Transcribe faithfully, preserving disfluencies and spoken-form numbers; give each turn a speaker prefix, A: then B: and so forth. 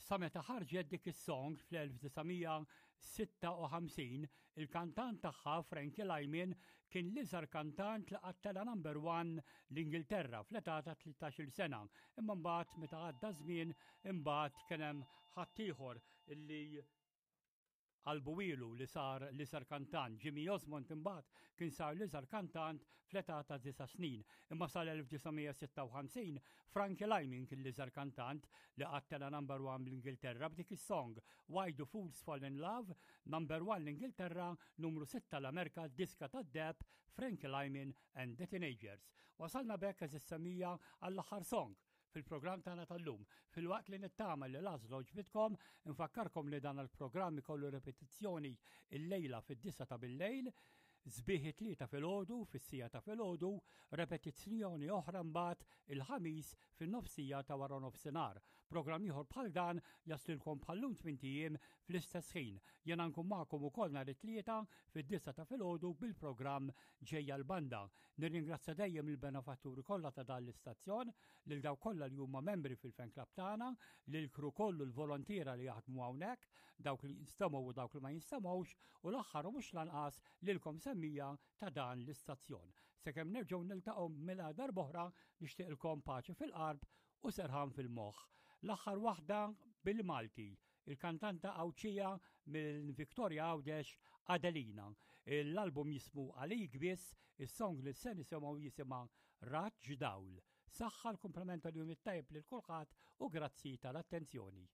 A: Sa meta ħarġet dik is-song fl-elf disa' mija sitta u ħamsin, il-kantant tagħha, Frankie Lyman, kien l-iżgħar kantant li qatt tela' number one l-Ingilterra fl-età ta' tlettax-il sena. Imma mbagħad, meta għadda żmien, imbagħad kien hemm ħaddieħor illi qalbuhielu li sar l-iżgħar kantant. Jimmy Osmond imbagħad kien sar l-iżgħar kantant fl-età ta' disa' snin. Imma sal-elf disa' mija sitta u ħamsin Frankie Lyman kien l-iżgħar kantant li qatt tela' number one bl-Ingilterra b'dik is-song "Why Do Fools Fall in Love", number one l-Ingilterra, numru sitta l-Amerika, diska tad-deheb, Frankie Lyman and the Teenagers. Wasalna b'hekk, għeżież semmiegħa, għall-aħħar song fil-programm tagħna tal-lum. Filwaqt li nittama li l-għażla għoġbitkom, infakkarkom li dan il-programm ikollu repetizzjoni il-lejla fid-disgħa ta' bil-lejl, sbieħ it-Tlieta filgħodu, fis-siegħa ta' filgħodu, repetizzjoni oħra mbagħad il-Ħamis fin-nofsija ta' wara nofsinhar. Programm ieħor bħal dan jaslilkom bħal-lum tmint ijiem fl-istess ħin. Jena nkun magħkom ukoll nhar it-Tlieta fid-disgħa ta' filgħodu bil-programm Ġejja l-Banda. Nirringrazzja dejjem il-benefatturi kollha ta' dan l-istazzjon, lil dawk kollha li huma membri fil-fan club tagħna, lil crew kollu, l-volontiera li jaħdmu hawnhekk, dawk li jinstemgħu u dawk li ma jinstemgħux, u l-aħħar u mhux lanqas lilkom semmiegħa ta' dan l-istazzjon. Sakemm nerġgħu niltaqgħu mela darb'oħra, nixtieqilkom paċi fil-qalb u serħan fil-moħħ. L-aħħar waħda bil-Malti, il-kantanta Għawdxija minn Victoria Għawdex, Adelina. L-album jismu "Għalik Biss", is-song li se nisimgħu jisimha "Raġġ Dawl". Saħħa, l-kumplament tal-jum it-tajb lil kulħadd u grazzi tal-attenzjoni.